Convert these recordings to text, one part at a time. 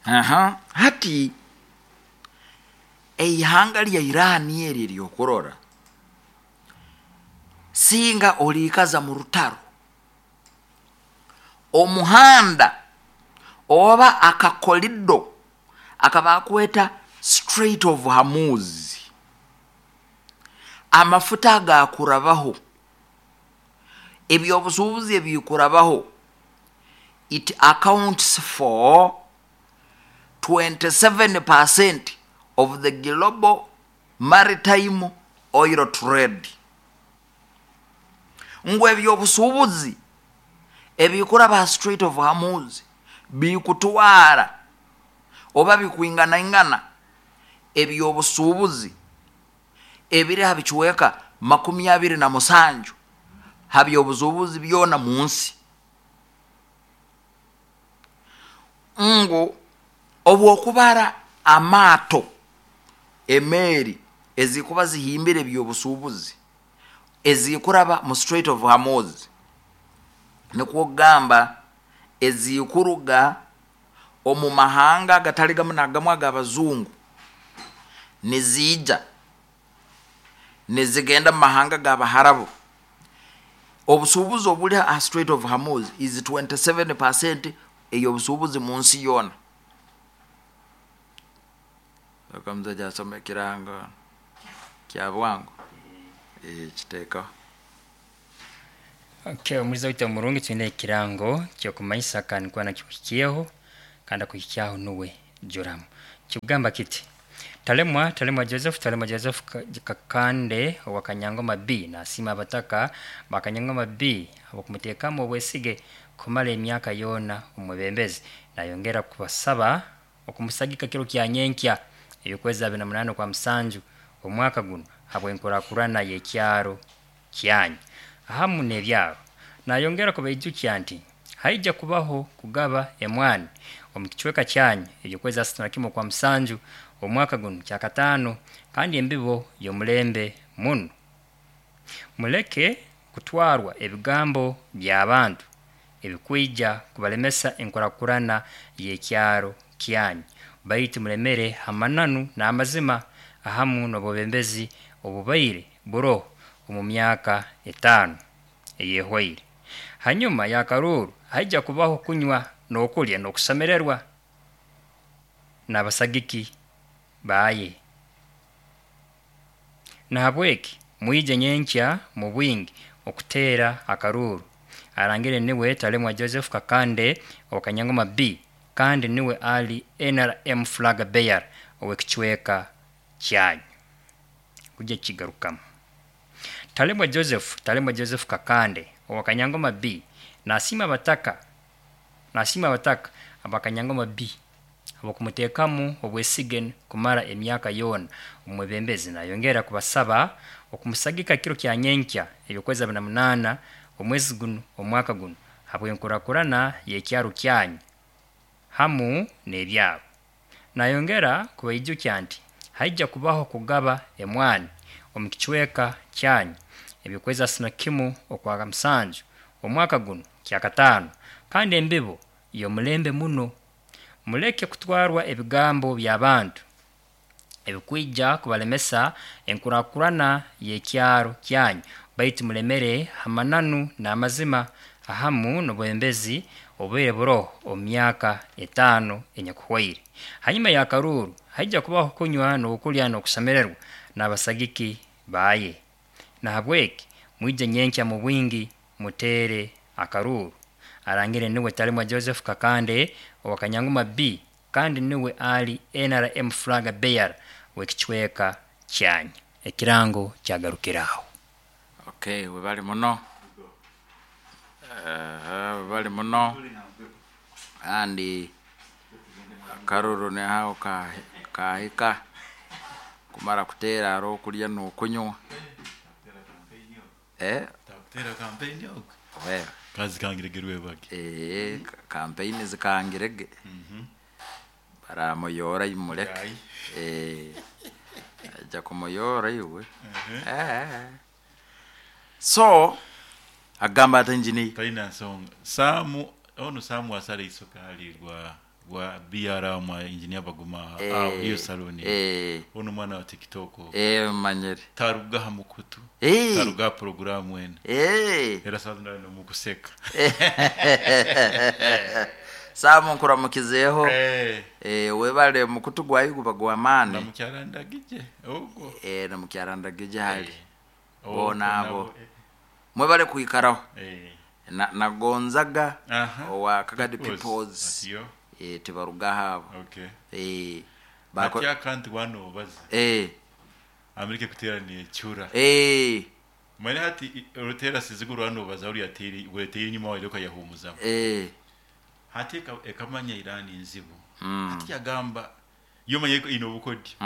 Aha, hati eihanga lya Iran eri eryokurora singa oliikaza mu rutaro, omuhanda oba akakolido akabakweta Strait of Hormuz, amafuta agakurabaho, ebyobusuubuzi ebikurabaho, it accounts for 27% of the global maritime oil trade. Ngu ebyobusuubuzi ebikuraba ha Strait of Hormuz bikutwara oba bikwinganaingana ebyobusuubuzi ebiri ha bicweka 27 ha byobusuubuzi byona mu nsi. Ngu obwokubara amaato, emeeri ezikuba zihimbire ebyobusuubuzi ezikuraba mu Strait of Hormuz, nikwo kugamba ezikuruga omu mahanga agatali gamu nagamu ag'abazungu niziija nizigenda mu mahanga g'Abaharabu, obusuubuzi obuli ha Strait of Hormuz is 27% ey'obusuubuzi mu nsi yoona. Omusaija asoma ekirango kya bwangu, kiteekaho. Okay, omulizi waitu omurungi, twine ekirango ky'okumanyisa kandi nkuba nakikuhikyeho kandi akuhikyaho nuwe Joram. Kikugamba kiti, Talemwa, Talemwa Joseph, Talemwa Joseph Kakande owa Kanyangoma B nasiima abataka ba Kanyangoma B habw'okumuteekamu obwesige kumara emyaka yoona omwebembezi. Nayongera kubasaba okumusagika kiro kya nyenkya ey'okwezi 28 okwa musanju omwaka gunu habw'enkurakurana y'ekyaro kyanyu hamu n'ebyaro. Nayongera kubaijukya nti haija kubaho kugaba emwani omu kicweka kyanyu eby'okwezi 31 okwa musanju omwaka gunu kyakataano kandi embibo y'omulembe muno. Muleke kutwarwa ebigambo by'abantu ebikwija kubalemesa enkurakurana y'ekyaro kyanyu, baitu mulemere ha mananu n'amazima ahamu n'obwebembezi obubaire buroho omu myaka 5 eyehwaire. Hanyuma y'akaruuru haija kubaho kunywa n'okulya n'okusemererwa n'abasagiki baye. Nahabweki mwije nyenkya mu bwingi okuteera akaruuru. Arangire niwe Talemwa Joseph Kakande owa Kanyangoma B kandi niwe ali NRM flag bearer ow'ekicweka kyanyu. Kujya kigarukamu. Talemwa Joseph, Talemwa Joseph Kakande owa Kanyangoma B nasiima abataka, nasiima abataka aba Kanyangoma B habw'okumuteekamu obwesige kumara emyaka yoona omwebembezi. Nayongera kubasaba okumusagika kiro kya nyenkya eby'okwezi 28 omwezi gunu omwaka gunu habw'enkurakurana y'ekyaro kyanyu hamu n'ebyaro. Nayongera kubaijukya nti haija kubaho kugaba emwani omu kicweka kyanyu eby'okwezi 31 okwa musanju omwaka gunu kyakataano kandi embibo y'omulembe muno. Muleke kutwarwa ebigambo by'abantu ebikwija kubalemesa enkurakurana y'ekyaro kyanyu, baitu mulemere ha mananu n'amazima ahamu n'obwebembezi obubaire buroho omu myaka 5 enyakuhwaire. Hanyuma y'akaruuru haija kubaho kunywa n'okulya n'okusemererwa n'abasagiki baye. Nahabweki mwije nyenkya mu bwingi muteere akaruuru. Arangire niwe Talemwa Joseph Kakande owa Kanyangoma B kandi niwe ali NRM flag bearer w'ekicweka kyanyu. Ekirango kyagarukiraho. Okay, webale muno. Webale muno. Kandi akaruru nihaho kahika kumara kuteera haroho okulya n'okunywa. Takutera kampeyini ogu. Kazikangirege rwebage. Kampeyini zikangirege. Baramuyoora imuleke. Aija kumuyoora iwe. So, agamba ati engineer. Talina nsonga. Saamu, onu Saamu asala eisoke hali Gwa BR mwa engineer Baguma aho iyo saloni. Ono mwana wa TikTok. Manyere. Taruga ha mukutu. Taruga program wene. Era sazi ndano mukuseka. Samu nkuramukizeho. Webale mukutu gwayo guba gwa mani. Na mukyarandagije ogo. Na mukyarandagije hali. Bona abo. Mwebale kuikaraho. Na Gonzaga owa Kagadi Peoples. Tibaruga habo. Okay. Bako kanti wano baza. Amerika kutera ni chura. Mwana hati rutera siziguru wano baza uri ateri ureteye inyuma wa iloka yahumuza. Hati ekamanya Irani nzibu. Hati yagamba yo manye ino bukodi.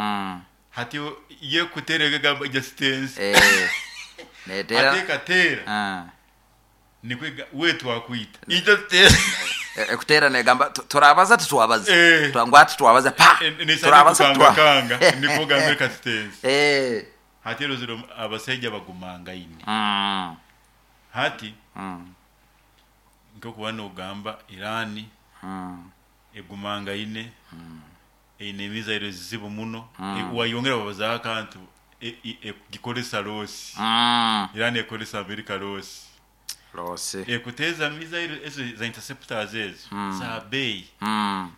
Hati ye kuterega gamba justice. Netera. Hati katera. Nikwega wetu akuita. Justice. Ekutera negamba turabaza titwabaza. Twangwa titwabaza pa. Turabaza twakanga. Nikoga America States. Hati rozero abasajja bagumanga ine. Hati nko kubano ugamba Irani egumanga ine. Ine mizairo zibu muno. Wayongera babaza akantu gikolesa losi. Irani ekolesa America losi. Losi. Ekuteza mizairo ezo za interceptors ezo za bei.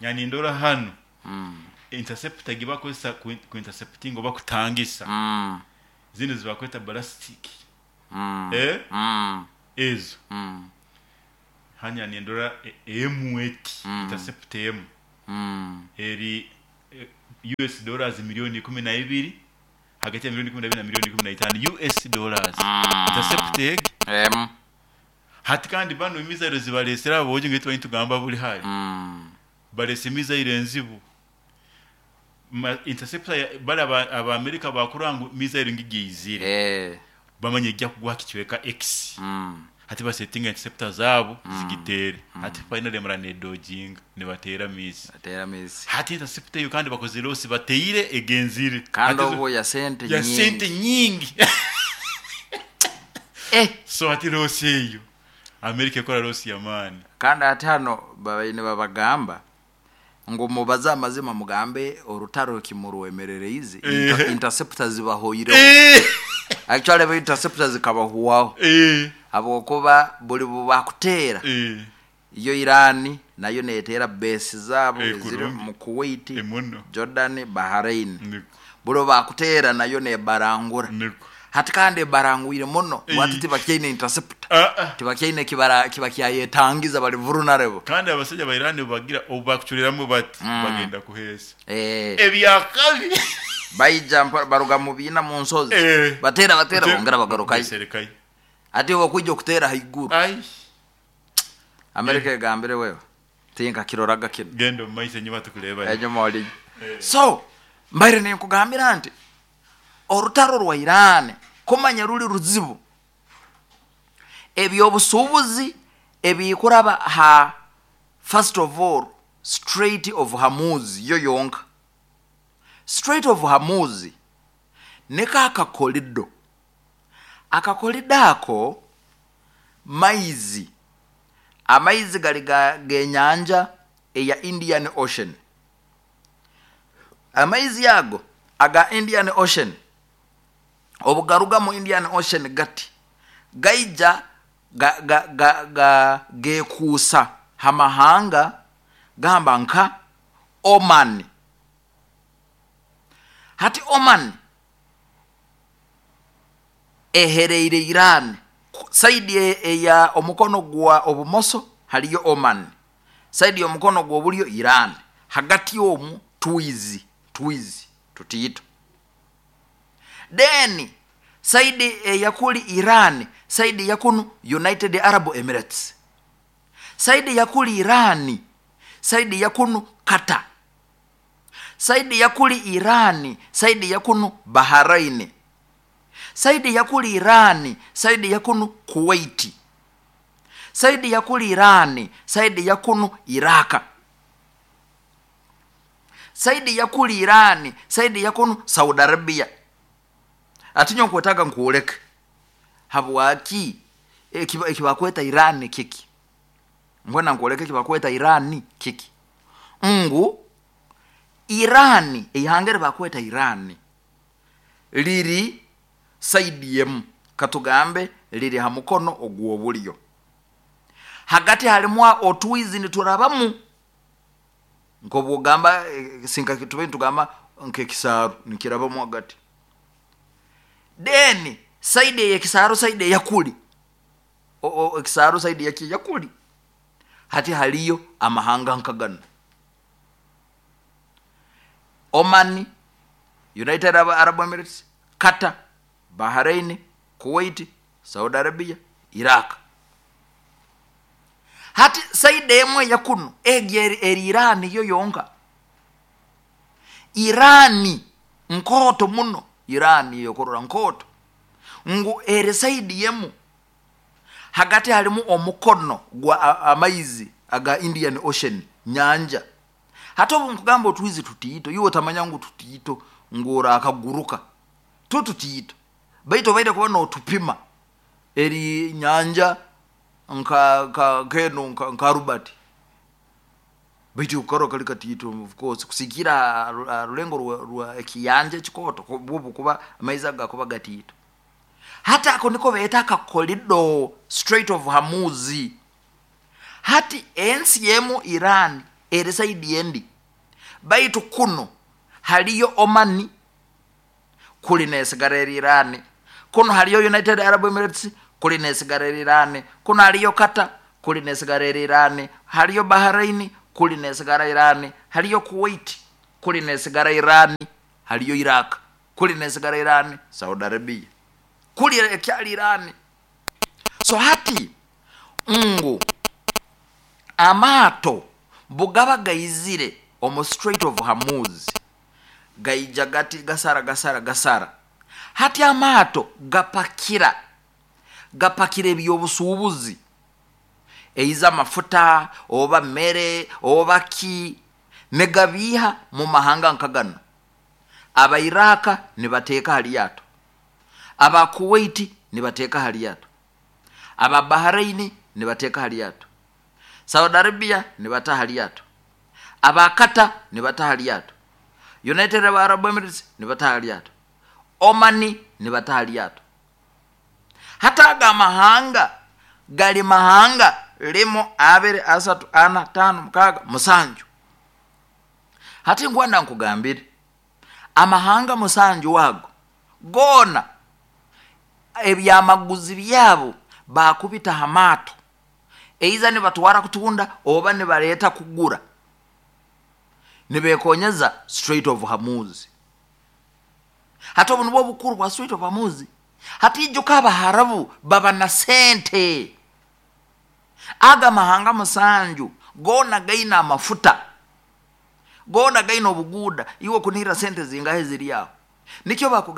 Yani ndora hano. Interceptor gibakozesa ku intercepting oba kutangisa. Zino zibakweta ballistic. Ezo. Hanya ni ndora M8 intercept M. Eri US dollars milioni 12 hagati ya milioni 12 na milioni 15 US dollars. Intercept M. Hati kandi bano imizairo zibalesera aboje ngetu tugamba buli hali. Balese mizairo enzibu. Interceptor bala aba America bakurangu mizairo ngigizire. Bamanye gya kugwa kichweka X. Hati basetinga interceptor zabo zigitere. Hati finally mrane dodging ne batera miss. Batera miss. Hati interceptor yo kandi bakoze loss bateire egenzire. Kandi obo ya sente nyingi. Ya sente nyingi. So hati loss eyo. America ekora loss ya mani. Kandi ati hano babaine babagamba ngo mubaza amazima mugambe orutaro kimuruwemerere izi interceptors zibahoyire. Actually ba interceptors kabahuwaho. Abo kuba buli bakutera. Iyo Irani nayo netera base zabo ziri mu Kuwait, Jordan, Bahrain. Buli bakutera nayo ne barangura. Hati kandi barangwire muno wati tibakyaine interceptor. Tibakyaine kibara kibakyayetangiza bali vulnerable. Kandi abasajja ba Irani bagira obakuchuliramu bati bagenda kuhesa. Ebyakabi baija baruga mu bina mu nsozi. Batera bongera bagarukayo. Ati wakujja okutera haiguru. Ai. America egambire wewe. Tinka kiroraga kino. Gendo maisha nyuma tukuleba. Enyuma oli. So mbaire ne nkugambira nti orutaro rwa Iran kumanya ruli ruzibu. Ebyobusubuzi ebikuraba ha first of all Strait of Hormuz yo yonka. Strait of Hormuz neka akakolido. Akakolido ako maizi. Amaizi gali genyanja eya Indian Ocean. Amaizi yago aga Indian Ocean. Obugaruga mu Indian Ocean gati gaija ga gekusa hamahanga gamba nka Oman. Hati Oman ehereire Iran saidi ya omukono gwa obumoso haliyo Oman, saidi ya omukono gwa obulyo Iran, hagati omu tuizi tutiyito. Then saidi yakuli Iran, saidi yakunu United Arab Emirates, saidi yakuli Irani, saidi yakunu Qatar, saidi yakuli Irani, saidi yakunu Bahrain, saidi yakuli Irani, saidi yakunu Kuwait, saidi yakuli Irani, saidi yakunu Iraka, saidi yakuli Irani, saidi yakunu Saudi Arabia. Atinyo nkwetaga nkuoleke habwaki ekibakweta Irani kiki. Mbona nkuoleke kibakweta Irani kiki. Ngu Irani, eihanga eri bakweta Irani liri side emu, katugambe liri ha mukono ogw'obulyo, hagati halimu otwizi niturabamu, nk'obwogamba sinka tube nitugamba nk'ekisaaru nikirabamu hagati. Then side ey'ekisaaru, side eyakuli, ekisaaru side yaki eyakuli, hati haliyo amahanga nka ganu: Oman, United Arab Emirates, Qatar, Bahrain, Kuwait, Saudi Arabia, Iraq. Hati side emu eyakunu egi eri Irani yo yonka. Irani nkooto muno, Irani yokurora nkooto ngu eri side emu, hagati halimu omukono gwa amaizi aga Indian Ocean, nyanja. Hati obu nkugamba otwizi tutiito, iwe otamanya ngu tutiito ngu orakaguruka, tu tutiito, baitu obaire kuba notupima eri nyanja nka nk'enu nka Albert, baitu okukarora kali katiito, of course kusigiikira ha rulengo rwa ekiyanja ekikooto, bwo bukuba amaizi ago gakuba gatiito. Hati ako niko beeta akakorido, Strait of Hormuz. Hati ensi emu Iran eri side endi, baitu kunu haliyo Omani, kuli nesigara eri Irani, kunu haliyo United Arab Emirates, kuli nesigara eri Irani, kunu haliyo Qatar, kuli nesigara eri Irani, haliyo Bahrain, kuli nesigara Irani, haliyo Kuwait, kuli nesigara Irani, haliyo Iraq, kuli nesigara Irani, Saudi Arabia kuli ekyali Irani. So hati ngu amaato bugaba gaizire omu Strait of Hormuz, gaija gati gasara gasara gasara. Hati amaato gapakira ebyobusuubuzi, eiza amafuta oba mere oba ki, nigabiiha mu mahanga nka ganu. Abairaka nibateeka ha lyato, aba Kuwait nibateeka ha lyato, aba Bahrain nibateeka ha lyato, Saudi Arabia nibata ha lyato, aba Qatar nibata ha lyato, United Arab Emirates nibata ha lyato, Omani nibata ha lyato. Hati aga amahanga gali mahanga 1, 2, 3, 4, 5, 6, 7. Hati nkwenda nkugambire, amahanga 7 ago goona ebyamaguzi byabo bakubita ha maato, eiza nibatwara kutunda oba nibareeta kugura, nibekonyeza Strait of Hormuz. Hati obu nibwo obukuru bwa Strait of Hormuz. Hati ijuka Abaharabu baba na sente. Aga mahanga 7 goona gaina amafuta, goona gaina obuguuda, iwe kunihira sente zingahe ziri aho, nikyo bakugamba.